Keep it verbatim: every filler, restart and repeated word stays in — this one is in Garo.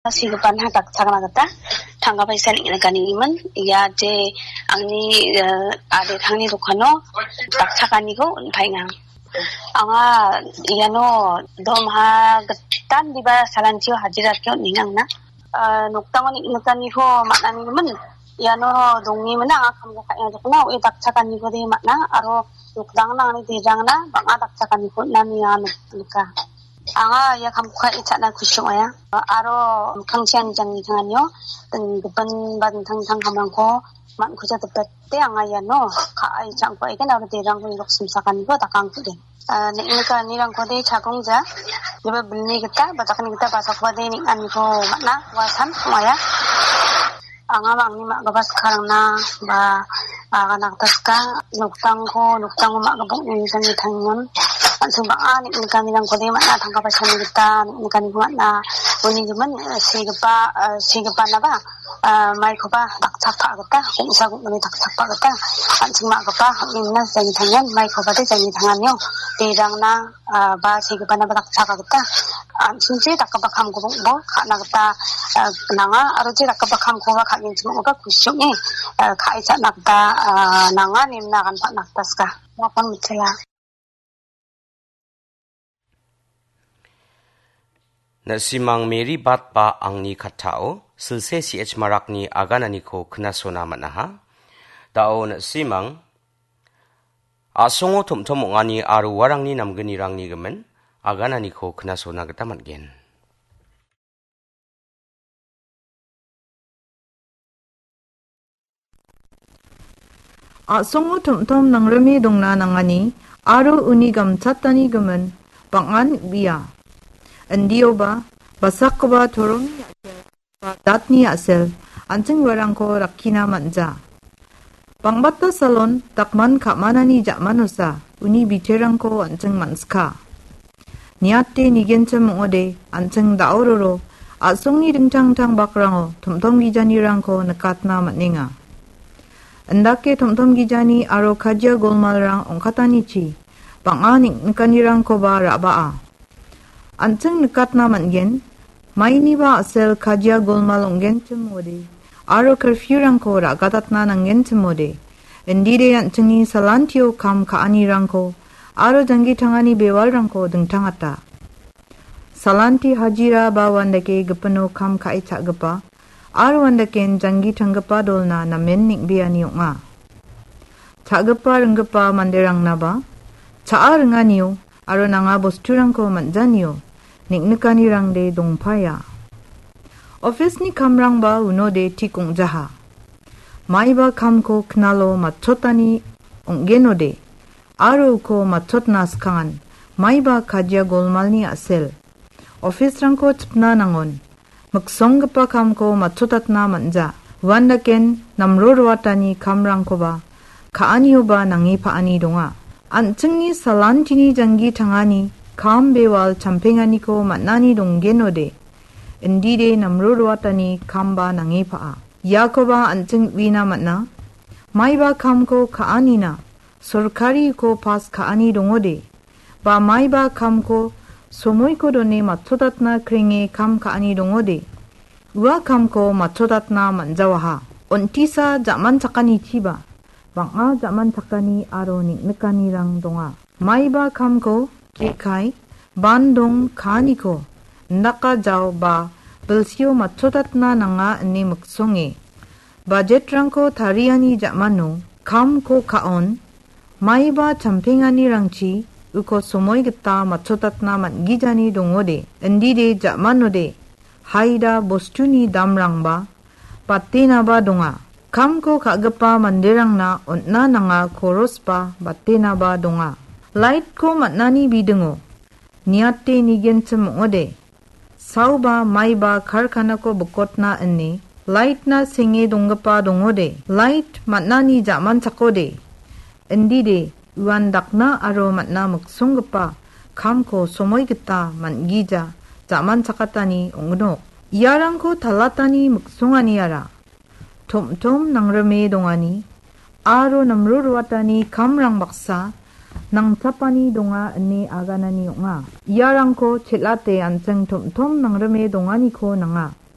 Sigipana dakchakna gita tangka paisa neng·nikaninigimin, ia je angni, eh, aditangni dokano dakchakaniko on·paenga. Anga iano dormaha gitan diba salantio hajira dake on·enga angna. Ah, nokdango neng·nikaniko man·anigimin, iano dongimina anga kamko ka·enga dokna, oe dakchakaniko de man·a, aro nokdangna angni derangna bang·a dakchakaniko on·ani anga nik-, nika. Anga ia kamko ka·e cha·na kusi ong·aia. Aro mikkangchi ani jangni tanganio, ding-, gipin ba dingtang dingtang kamrangko man·kuja dipete anga iano ka·e cha·angko aigen aro derangko irok simsakaniko dakangkude. Ah, neng·nikanirangkode chagongja. Iba bilni gita, ba dakni gita basakoba de neng·aniko man·a, ua san ong·aia. Anga mangni ma·gipa skarangna ba, ah, agana gita ska, nokdangko, nokdango ma·gipa ong·e jangi tangon. An·ching bang·a neng·nikanirangkode man·a, tangka paisani gita neng·nikaniko man·a. Uni gimin, eh, segipa, eh, segipanaba, eh, maikoba dakchakpa gita, gongsa gongni dakchakpa gita, an·ching ma·gipa, on·enga jangi tangon, maikoba de jangi tanganio, derangna, ah, ba segipanaba dakchaka gita, an·chingchi dakgipa kamkoba ka·na gita, ah, nanga, aro je dakgipa kamkoba ka·genchim ong·gipa kusi ong·e, ah, ka·e cha·na gita, ah, nanga, nemna agan pa·na gita ska. Nakon mitela. Na·simang Mary Bat ba angni kattao silse C H Marakni agananiko knasona man·aha. Da·o na·simang a·songo tom·tom ong·ani aro uarangni namgnirangni gimin agananiko knasona gita man·gen. A·songo tom·tom nangrime dongna nangani aro uni gamchatani gimin bang·an bia. Indioba basakgipa toromni a·sel ba datni a·sel an·ching uarangko rakkina man·ja. Bangbata salon dakman ka·manani ja·manosa uni biterangko an·ching man·ska. Niate nigenchim ong·ode an·ching da·ororo a·songni dingtang dingtang bakrango tom·tom gijanirangko nikatna man·enga. Indake tom·tom gijani aro kajia golmalrang ong·katanichi bang·a neng·nikanirangkoba ra·baa. An·ching nikatna man·gen, mainiba a·sel kajia golmal ong·genchim ong·ode aro curfew-rangko ra·gatatna nanggenchim ong·ode, indide an·chingni salantio kam ka·anirangko aro janggi tangani bewalrangko dingtangata. Salanti hajira ba uandake gipino kam ka·e cha·gipa aro uandaken janggi tanggipa dolna namen neng·beani ong·a. Cha·gipa ringgipa manderangnaba cha·a ringanio aro nanga bosturangko man·janio neng·nikanirangde dongpaia. Office-ni kamrangba unode tik ong·jaha. Maiba kamko knalo matchotani ong·genode aro uko matchotna skangan maiba kajia golmalni a·sel. Office-rangko chipna nangon. Miksonggipa kamko matchotatna man·ja. Uandaken namro roatani kamrangkoba ka·anioba nange pa·ani donga. An·chingni salantini janggi tangani kam bewal champenganiko man·ani donggenode, indide namro roatani kamba nange pa·a. Iakoba an·ching uina man·a. Maiba kamko ka·anina sorkariko pas ka·ani dongode, ba maiba kamko somoiko done matchotatna krenge kam ka·ani dongode, ua kamko matchotatna man·jawaha. Ontisa ja·manchakanichiba bang·a ja·manchakani aro neng·nikanirang donga. Maiba kamko jekai, bandong ka·aniko indaka jao ba bilsio matchotatna nanga ine miksonge. Bajetrangko tariani ja·mano kamko ka·on, maiba champenganirangchi uko somoi gita matchotatna man·gijani dongode, indide ja·manode, haida bostuni damrangba batenaba donga. Kamko ka·gipa manderangna on·na nanga korosba batenaba donga. Light-ko man·ani bidingo niate nigenchim ong·ode, saoba maiba karkanako bikotna ine light-na senge donggipa dongode, light man·ani ja·manchakode, indide uandakna aro man·a miksonggipa kamko somoi gita man·gija ja·manchakatani ong·gnok. Iarangko talatani miksonganiara tom·tom nangrime dongani aro namro roatani kamrang baksa nangchapani donga ine aganani ong·a. Iarangko chel·ate an·ching tom·tom nangrime donganiko nanga.